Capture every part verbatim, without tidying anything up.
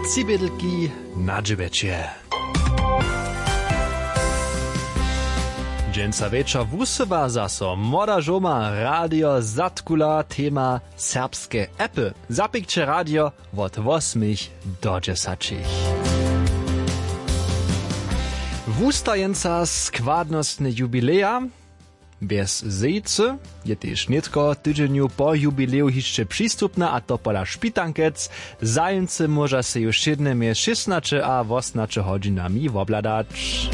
Tři bědelki na dźewjeće. Dźensa wječor wusyła zaso młoda žołma radio zatkula tema serbske appy. Zapikće radio wot wosmich do dźesaćich. Wustajeńca składnostne jubileja bjez zejcy je tež nětko w tydźenju po jubileju hišće přistupna, a to pola špitankec. Zajimcy móža sej ju wšědne mjez šěsnaće a wosnaće hodźinami wobhladać.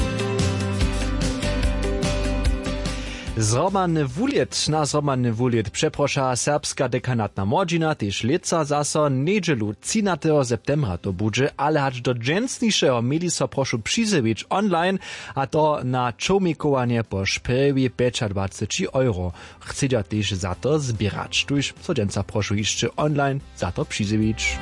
Zhromadny wulět na zhromadny wulět přeproša serbska dekanatna młodźina tež lětsa zaso njedźelu třinateho septembra to budźe, ale hač do dźensnišeho měli so prošu přizjewić online, a to na čołmikowanje po šprjewi pjećadwaceći euro. Chcedźa tež za to zběrać, tuž so dźensa prošu hišće online za to přizjewić.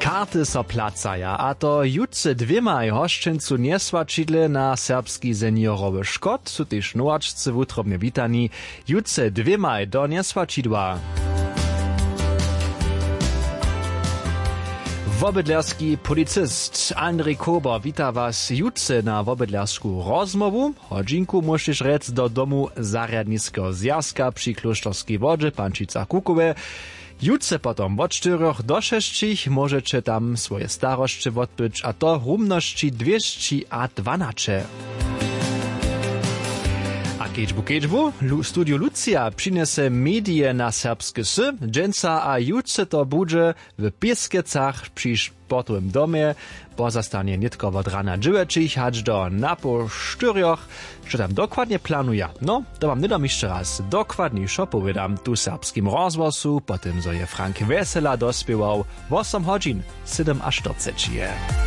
Karty so placaja, a to jutře dwěmaj hosćencu njeswaćidle na serbski seniorowy škot su tež nowačcy wutrobnje witani. Jutře dwěmaj do njeswaćidła. Wobydlerski policist Andrej Kober wita was jutře na wobydlersku rozmołwu. Hodźinku móžeš rjec do domu zarjadniskeho zwjazka při klóšterskej wodźe pančica kukowe. Jutře potom wot štyrjoch do šesćich móžeće tam swoje starosće wotbyć, a to w rumnosći dwěsći a dwanaće. A kedźbu kedźbu Lu- studio lucija přinjese medije na serbske sy. Dźensa a jutře to budźe w pěskecach při sportowym domje. Pozastanje nětko wot rana dźewjećich hač do napoł štyrjoch. Što tam dokładnje planuja, no, to wam hnydom hišće raz dokładnišo powědam tu w serbskim rozhłosu, po tym zo je Frank Wjesela dospěwał. Wosom hodźin sydomaštyrceći je.